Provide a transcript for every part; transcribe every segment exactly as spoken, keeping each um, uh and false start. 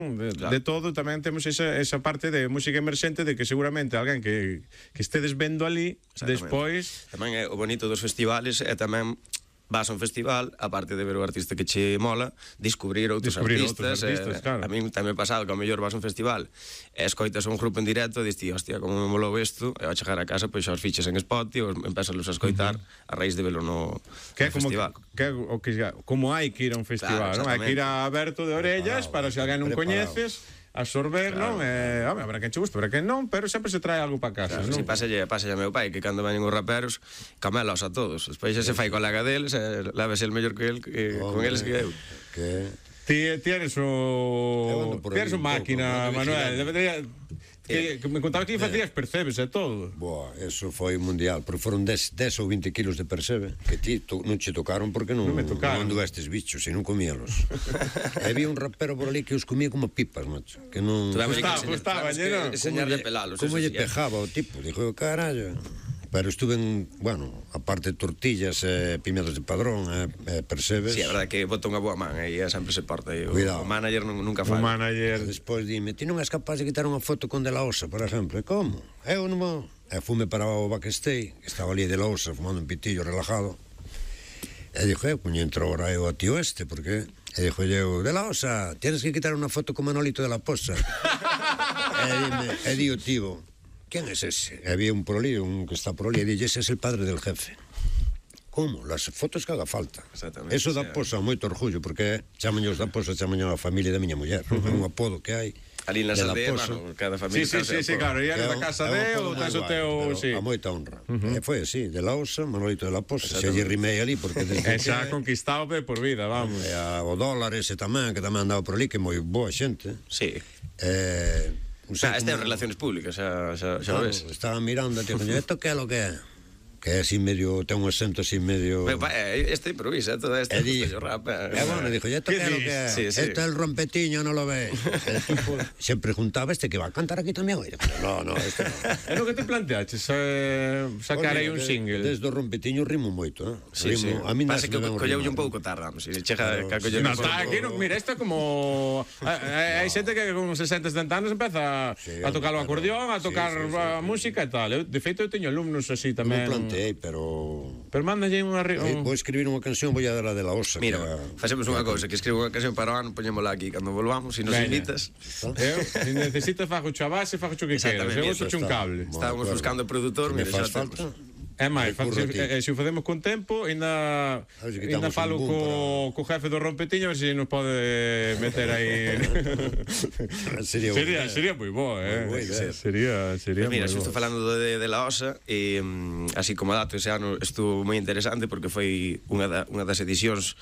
De, Claro. de todo, tamén temos esa, esa parte de música emerxente de que seguramente alguén que, que estedes vendo ali Exactamente. despois Tamén é o bonito dos festivales é tamén vas a un festival, aparte de ver o artista que che mola, descubrir outros Descubrir artistas, outros artistas, eh, claro. a mí tamén pasado que ao mellor vas a un festival e escoitas a un grupo en directo e diste, hostia, como me molou isto, e ao chegar a casa pois xa os fiches en Spotify ou empezas a escoitar uh -huh. a raíz de velo no, que é no como festival. que, o que como hai que ir a un festival, Claro, non? Hai que ir exactamente. aberto de orellas para se alguén non Preparado. coñeces absorber, Claro. non? Eh, home, habrá quen che guste, habrá quen non, pero sempre se trae algo para casa, Claro, non? si pásalle, pásalle a meu pai que cando veñen os raperos camelos a todos, despois xa se fai colega deles e lávese el mellor que el que, con eles que eu. Que... Ti tienes o ando por tienes aí o un pouco, máquina, ando Manuel, vigilando. debería que, que me contaba que facías percebes e todo. Boa, eso foi mundial, porque foron dez ou vinte kilos de percebe que ti to, non che tocaron porque non, Non me tocaron. non anduvestes bichos e non comíalos. E había un rapero por ali que os comía como pipas, macho, que non... Tuvemos que Gustavo, enseñar- Gustavo, tuvemos que lleno. enseñar Como de lle- pelalos. Como eso lle sí, eh. pejaba o tipo, dijo, carallo. Pero estuve en, bueno, aparte de tortillas, eh, pimientos de padrón, eh, eh, percebes. Sí, a verdade que bota unha boa man e sempre se porta e o, Cuidado. o manager non, nunca O falla. manager. Despois dime, ti non és capaz de quitar unha foto con De La Osa, por exemplo. E como? Eu non vou. E fume para o backstage, que estaba ali De La Osa fumando un pitillo relajado. E dixo, eu, puño entro ahora eu a tío este, porque... E dixo eu, De La Osa, tienes que quitar unha foto con Manolito de la Posa. e, dime, e di o tío, ¿quién es ese? E había un por ali, un que está por ali, e dille, ese es el padre del jefe. Como? Las fotos que haga falta. Exactamente, Eso dá sí. posa moito orgullo, porque chamaños da posa, chamaños a familia da miña muller. Uh -huh. É un apodo que hai. Ali na de la Sade, Posa. bueno, cada Sí, familia... sí, sí, sí, claro, ia É na un- casa é un de apodo ou moi tens o guai, teu, pero sí. a moita honra. E foi así, De La Osa, Manolito de la Posa. Se lle rimei ali, porque desde E xa que... conquistado de por vida, vamos. E a, o dólar ese tamén, que tamén andaba por ali, que é moi boa xente. Sí. Eh, non sei Xa, este é como- relaciones públicas, xa, xa, xa o Claro, ves. estaba mirando, tío, esto que é lo que é? Que é así medio, ten un acento así medio... Pero, pa, eh, este improvisa, todo este E di, este rap. e bueno, dijo, ¿y esto ¿Qué qué es lo dis? que es? Sí, sí. Esto es el rompetiño, no lo ves. El tipo se preguntaba, ¿este que va a cantar aquí también? Oye, no, no, este no. É lo que te planteaches, eh, sacar aí un Oye, single. Desde o rompetiño rimo moito, eh? Sí, sí. Rimo, a mí Pasa que náseme ben o colleulle rimar. un pouco tardamos. E chega que colleulle No, un está pouco... aquí, no, mira, isto é como hai hai xente que con sesenta, setenta anos empeza Sí, a tocar o pero- acordeón, a sí, tocar sí, sí, a sí. música e tal. Eu, de feito, eu teño alumnos así Non me tamén. planteei, pero... Pero mándalle unha ri- Eh, un... Vou escribir unha canción, vou a dar a de la Osa. Mira, que a- facemos unha cousa, que escribo unha canción para o ano, poñémola aquí cando volvamos, e nos Veña. invitas. Eu, se necesitas fago a base, fago o que queras. Exactamente, Eu eso uso un está. cable. Bueno, Estábamos claro. buscando produtor, Se me mira, faz xa falta... temos. É máis, fa- se, Recurro a ti. e, se o facemos con tempo, ainda A ver se ainda quitamos falo un co, boom co jefe do rompetiño a ver se nos pode meter aí. Sería, sería, sería moi bo, eh. Moi boa idea. Sería, sería Pues mira, moi xusto bo. falando do de, de la Osa, e, mm, así como dato, ese ano estuvo moi interesante porque foi unha, da, unha das edicións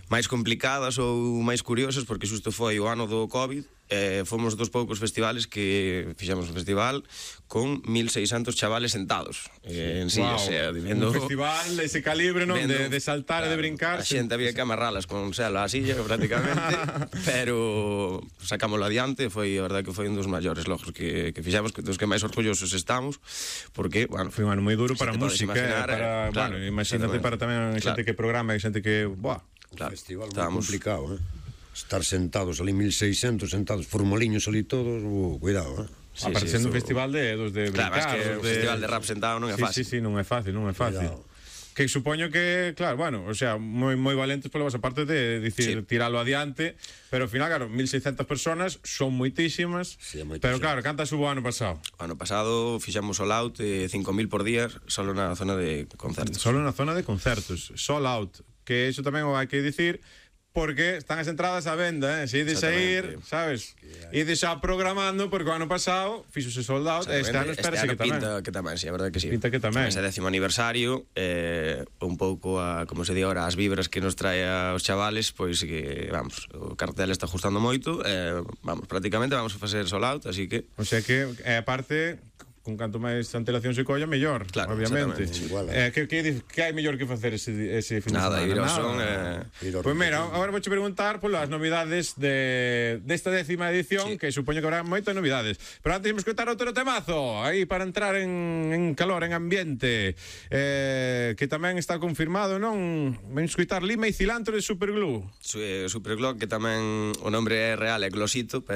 máis complicadas ou máis curiosas, porque xusto foi o ano do COVID, eh, fomos dos poucos festivales que fixemos un festival con mil seiscentos chavales sentados eh, en Wow, sillas, eh, vendo, un festival ese calibre, non? vendo- De, de saltar e de claro, brincar. a xente había que amarralas con sela a silla prácticamente, pero sacámoslo adiante, foi a verdade que foi un dos maiores logros que, que fixemos, que dos que máis orgullosos estamos, porque, bueno, Foi un ano moi duro para a se te podes música, eh, imaginar, para, eh, claro, bueno, imagínate exactamente. para tamén xente Claro. que programa e xente que, buah, Un claro, festival moi estábamos- complicado, eh? Estar sentados ali mil seiscentos, sentados formaliños ali todos, uh, cuidado, eh? sí, Sí, aparecendo sí, un festival de dos de Claro, brincar, es que dos o festival de rap sentado non é sí, fácil. Sí, sí, non é fácil, non é fácil. Cuidado. Que supoño que, claro, bueno, o sea, moi moi valentes pola vosa parte de dicir, Sí. tiralo adiante, pero ao final, claro, mil seiscentas personas son moitísimas, Sí, é moitísimo. pero claro, cantas hubo ano pasado? O ano pasado fixamos sold out eh, cinco mil por día solo na zona de concertos. Solo na zona de concertos, sold out, que eso tamén o hai que dicir, porque están as entradas á venda, eh? Se ides a ir, Exactamente. sabes? Ides xa programando, porque o ano pasado fixose sold out, e este ano espérase ano que tamén. pinta que tamén, sí, a verdade que sí. Pinta que tamén. Ese décimo aniversario, eh, un pouco a, como se di ahora, as vibras que nos trae aos chavales, pois que, vamos, o cartel está ajustando moito, eh, vamos, prácticamente vamos a facer sold out, así que O sea que, e aparte, con canto máis antelación se colla, mellor, Claro, obviamente. exactamente. Igual, Eh, que, que, que hai mellor que facer ese, ese fin nada, de ir semana? ao son, Nada. eh, Ir ao Pois pues mira, rompetiño. agora vouche preguntar polas novidades de desta décima edición, Sí. que supoño que habrá moitas novidades. Pero antes imos escoitar outro temazo, aí para entrar en, en calor, en ambiente, eh, que tamén está confirmado, non? Vamos escoitar Lima e Cilantro de Superglue. su, eh, Superglog, que tamén o nombre é real, é Glosito, pero